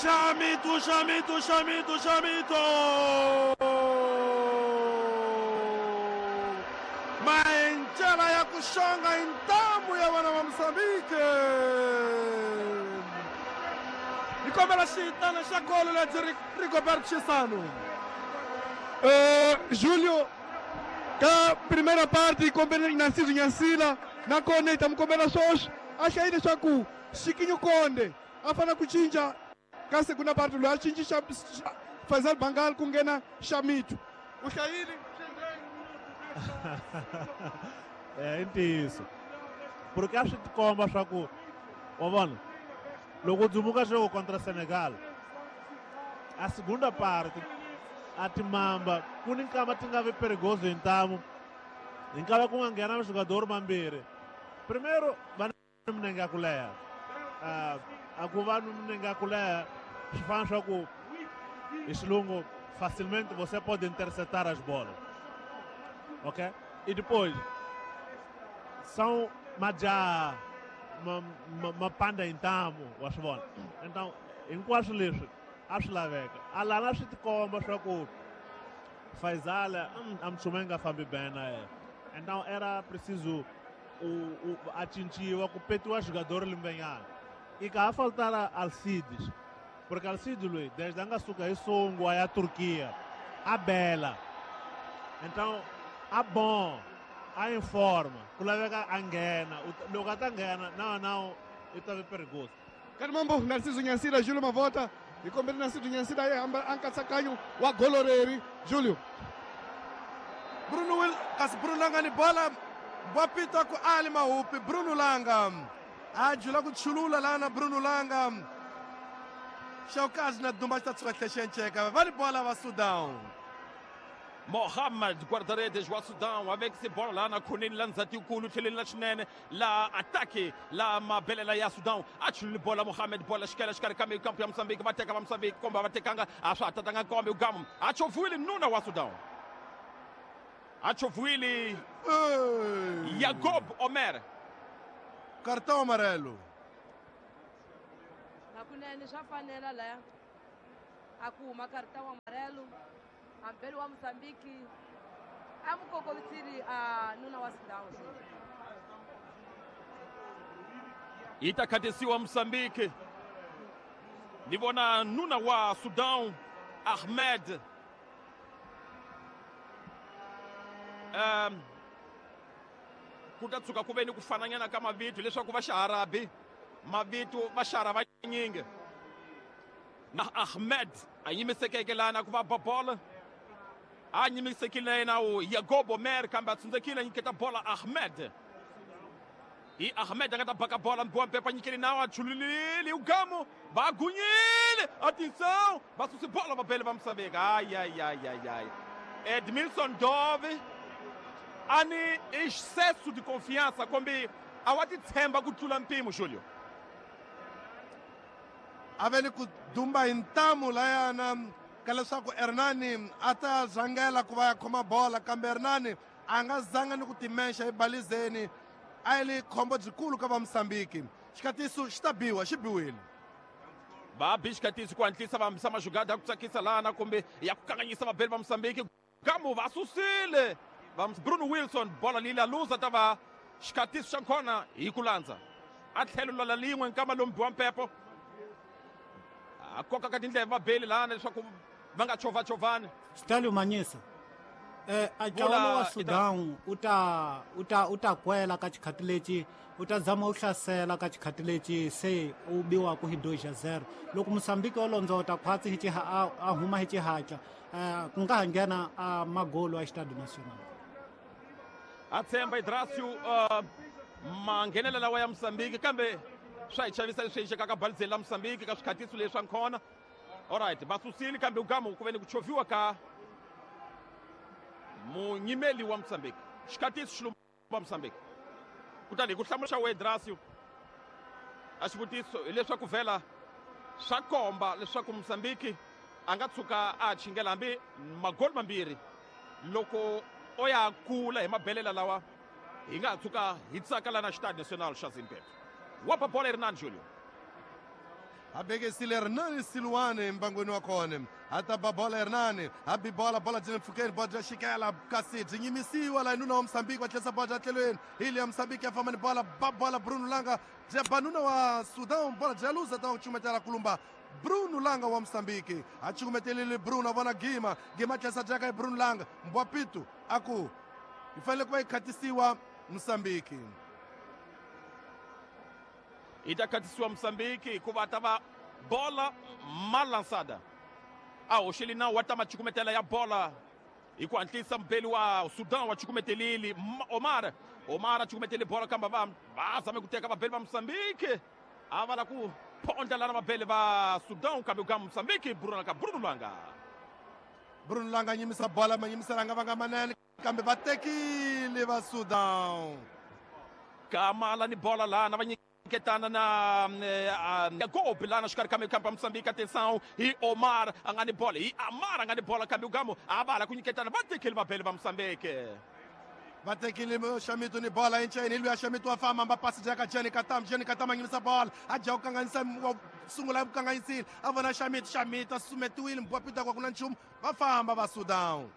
Chamito, Chamito, Chamito, Chamito! Maenchela ya kushonga intamu ya vana va Mozambique. Ni kombela xitana xa golo lebyi Rigobert Chisano. Julio, ka primeira parte hi kombele Narciso Nyansila nakona hi ta mi kombela swoswi a hlayi leswaku Xikinyu Konde a fanele ku cinca ka segunda parte loyi a cinci xa Faisal Bangal ku nghena Xamitu u hlayile. I ntiyiso porque a swi tikomba swa ku wa vona loko u dzumuka xoko contra Senegal a segunda parte a timamba ku ni nkama ti nga vi perigoso hi ntamu hi nkava ku nga nghena jogador mambirhi primeiro va na minenge ya ku leha a ku va ni minenge ya ku leha swi fana swa ku hi xilungu facilmente você pode interceptar as bolas, ok? E depois são majaha ma panda hi ntamu wa swi vona então hinkwaswo leswi a swi laveka a lana swi tikomba swa ku Faisal a mchume nga fambi bem na yena então era preciso a cinciwa ku petiwa jogador limbenyana e ka ha faltara Alcides porque Alcides loyi desde a nga suka hi Songo a ya Turquia a bela então a bom a em forma ku laveka a nghena loko a ta nghena na na i ta ve perigoso. Kati mambo Narciso Nyansila Julio Mavota hi kombele Narciso Nyansila yi hamba a nkatsakanyo wa golo reri Julio. Bruno Will kasi Bruno Langa ni bola wa pita ku Ali Mahupi Bruno Langa a jula ku chulula lana Bruno Langa Shaukazi na Dumba xi ta tshuka tlhe xi enceka va ni bola va Sudan. Mohamed guarda-redes wa Sudan a vekise bola laha na khoneni la ndzhati yikulu tlheleni la xinene la atake la mabelela ya Sudan a chulule bola Mohamed bola xikela xikarhi ka mikampo ya Mozambique va teka va Mozambique komba va tekanga a swa ha tatanga kombe ugamu a chovhiwile nuna wa Sudan a chovhiwile Yagob Omer cartão amarelo. Hakunene swa fanela laya a ku huma cartão amarelo ambeli wa Mozambique a mukokovitsiri a nuna wa Sudan. Yi ta khatisiwa Mozambique ni vona nuna wa Sudan Ahmed ku ta tshuka ku ve ni ku fananyana ka mavito leswaku va xiharabi mavito va xara vanyingi na Ahmed a yimisekeke lana ku va ba bola a nyimisekile na yena u Yagob Omer kambe a tsundzekile a nyiketa bola Ahmed hi Ahmed a nga ta baka bola mbiwa mpepa nyikeli nawu a chululile ugamu va gunyile atenção va susi bola va bele va Mozambique ay ay ay ay ay Edmilson Dove a ni excesso de confiança kombi a wa titshemba ku tlula mpimo Julio. A ve ni ku dumba hi ntamu layana ka leswaku Hernani a ta rhangela ku va ya khoma bola kambe Hernani a nga zanga ni ku timexa ebalizeni a yi li khombo byikulu ka va Mozambique xikatiso xi ta biwa xi biwile. Va bi xikatiso ku hatlisa va hambisa majugada ya ku tsakisa lana kumbe ya ku kanganyisa vabeli va Mozambique gamu va susile va Bruno Wilson bola leyi la luza ta va xikatiso xa kona hi ku landza a tlhelo la lin'we nkama lomu biwa mpepo a koka ka tindleve vabeli lana leswaku va nga chovachovani. Stalio Manyisa a ntlawa wa Sudan u ta u ta u ta kwela ka xikhati lexi u ta zama u hlasela ka xikhati lexi se u biwaku hi 2-0 loko Mozambique o londzota khwatsi hi a huma hi xihatla ku nga ha nghena a magolo a Estádio Nacional. A tshemba Idrasio manghenela lawa ya Mozambique kambe swa hi chavisa leswi endlekaka balizeni la Mozambique ka swikhatiso leswi swa nkhona. Alright va susile kambe ugamu ku ve ni ku chovhiwa ka munyimeli wa Mozambique xikhatiso xilumba Mozambique kutani hi ku hlamula xa Wedrasio a xivutiso hileswaku vhela swa komba leswaku Mozambique a nga tshuka a chingela hambi magoli mambirhi loko o ya kula hi mabelela lawa hi nga tshuka hi tsaka lana Stade National xa Zimbabwe wa ba bola Hernan Julio. A bekisile Hernani Siluane mbangwini wa kona. A ta ba bola Hernani, a bi bola, bola byi le mpfhukeni, bola bya xikela, kasi byi nyimisiwa laha nuna wa Mozambique va tlherisa bola bya tlhelweni. Hi liya Mozambique ya famba ni bola, ba bola Bruno Langa, bya ba nuna wa Sudan, bola bya luza ta cukumetela kulumba Bruno Langa wa Mozambique. A cukumetelile Bruno, a vona Gima, Gima tlherisa jaka hi Bruno Langa, Mbwapitu a ku yi fanele ku va yi khatisiwa Mozambique. Yi ta khatisiwa Mozambique hikuva ta va bola malansada. A hoxeli nawu wa ta macukumetela ya bola hi ku hatlisa mubeli wa Sudan wa cukumetelile Omar. Omar a cukumetele bola kambe va zame ku teka vabeli va Mozambique. A va la ku phondla lana vabeli va Sudan kambe ka Mozambique Bruno ka Bruno Langa. Bruno Langa nyimisa bola, manyimisela nga vanga manene kambe va tekile va Sudan. Kamala ni bola lana va nyiketana na Gobi lana xikarhi ka mikampa Mozambique. Atenção hi Omar a nga ni bola, hi Amar a nga ni bola kambe ugamo a va la ku nyiketana, va tekile vabeli va Mozambique. Va tekile Xamito ni bola enceni, luya Xamito wa famba, va pasi jaka Jenny Katam, Jenny Katam a nyimisa bola, a dya ku kanganyisa, wa sungula ku kanganyisile, a vona Xamito, Xamito a sumetiwile, Mbwapita kwa ku na nchumu, va famba va Sudan.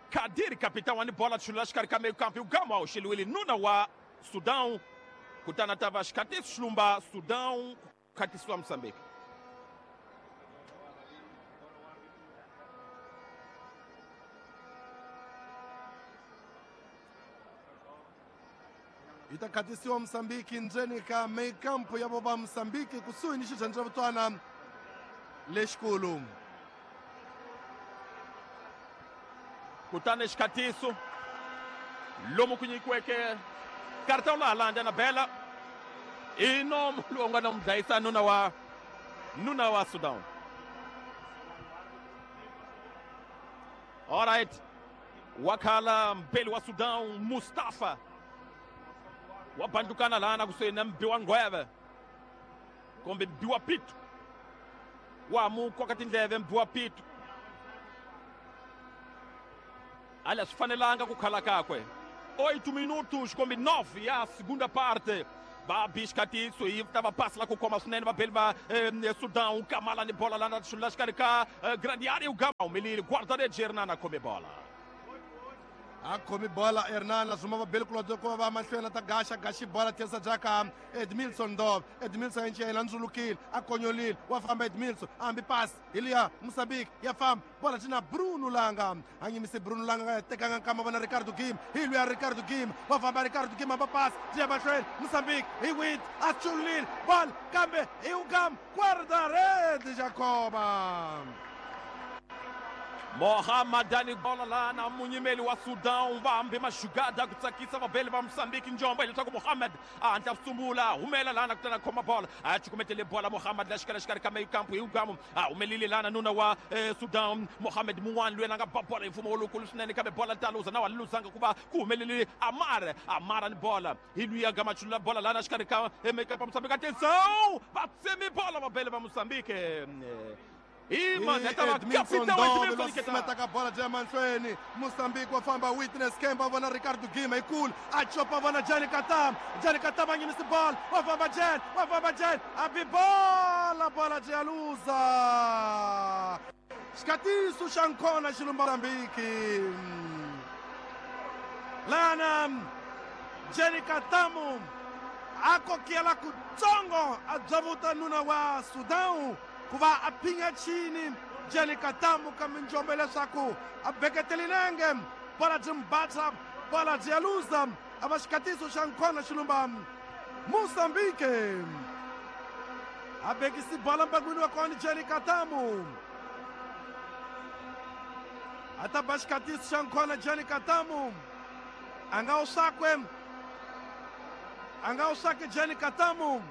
Kadir capitão wa ni bola chulula xikarhi ka mikampa ugamo a hoxeliwile nuna wa Sudan. Kutani ta va xikhatiso xilumba Sudan ku khatisiwa Mozambique. Yi ta khatisiwa Mozambique ndzeni ka meikampo ya vo va Mozambique kusuhi ni xirhendzelevutwana lexikulu. Kutani xikhatiso lomu ku nyikiweke cartão laha landza na bela i nomo lowu nga na mu dlayisa nuna wa Sudan. All right, wakhala mbeli wa Sudan Mustafa wa bandukana lana kusuhi na mbi wa ngweve kumbe mbi wa pitu wa mu koka tindleve mbi wa pitu. Ali swi fanelanga ku khala kakwe. 8 minutos kumbe 9 ya segunda parte. Va bi xikhatiso yi ta va pasi la ku khoma swinene vabeli va Sudan. Kamala ni bola lana xulula xikarhi ka grande area ugama humelile guarda-redes Hernani a khome bola. A khomi bola Hernani a zuma vabeli kulobye ku va va mahlweni ta gaxa gaxi bola tlherisa jaka Edmilson Dove. Edmilson encela a ndzulukile a konyolile wa famba Edmilson a hambi pasi hi liya Mozambique ya famba bola ti na Bruno Langa a nyimise Bruno Langa nga tekanga nkama vona Ricardo Gim hi luya Ricardo Gim wa famba Ricardo Gim hamba pasi ti ya mahlweni Mozambique hi wit a chulile bola kambe hi ugam guarda-redes Jacoba. Mohamed bola lana munyimeli wa Sudan va hambi maxugada ku tsakisa vabeli va Mozambique njombo hileswaku Mohamed a hatla sungula humela lana kutani a khoma bola a cukumetele bola Mohamed la xikarhi xikarhi ka meikampu hi ugamu a humelile lana nuna wa Sudan Mohamed mun'wana loyi a nga ba bola hi mfumo lowukulu swinene kambe bola ta luza na wa luzanga ku va ku humelele Amar Amara ni bola hi luya gama chulula bola lana xikarhi ka meikampu Mozambique. Atenção va tsemi bola vabeli va Mozambique. Edmilson Dove losumeta bola bya mahlweni Mozambique wa famba Witness Kemba vona Ricardo Gima ikulu a chopa vona Jenny Katam, Jenny Katam a nyimisi bola wa famba Jen, wa famba Jen a bi bola bola bya luza xikhatiso xa nkona xilumba Mozambique lana Jenny Katamu a kokela kutsongo a byavuta nuna wa Sudan ku va a phinya chini Jenny Katamu ka minjombo leswaku a beketeli nenge bola byi mbatha bola byi ya luza a va xikhatiso xa nkhona xilumba Mozambique a bekisi bola mbangwini wa kona Jenny Katamu a ta ba xikhatiso xa nkhona Jenny Katamu a nga wu swakwe a nga wu swake Jenny Katamu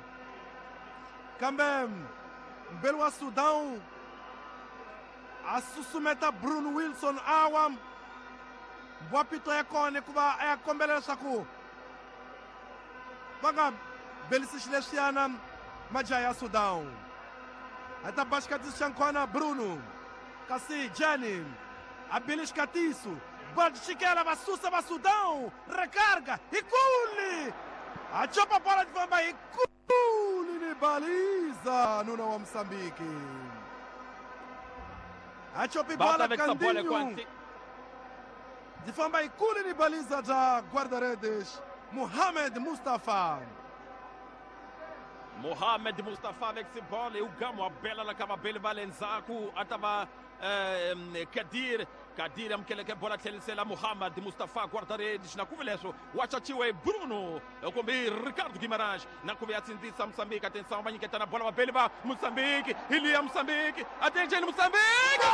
kambe mbeli wa Sudan a susumeta Bruno Wilson awa mbwapito ya kona ku va a ya kombela leswaku va nga belisi xileswiyana majaha ya Sudan a ta ba xikhatiso xa nkhona Bruno kasi Jenny a bile xikhatiso va xikela va susa va Sudan recarga hi kuli a chopa bola ti famba hi kuli ni Baliza nuna wa Msambiki. Achopi Va ta bola vekisa bolo Kandinho. kwanti. Ndzi famba yikulu ni baliza ta guarda-redes Mohamed Mustafa. Mohamed Mustafa vekisi bolo hi ugamu wa bela la ka vabeli va le ndzhaku a ta va Kadir. Kadir amukeleke bola tlhelisela Mohamed Mustafa guarda-redes na kuve leswo wa caciwa hi Bruno kumbe hi Ricardo Guimarães na kuve ya tsindzisa Mosambiki. Atenção, va nyiketana bola vabeli va Mosambiki. Hi liya Mosambiki, attention, Mosambiki.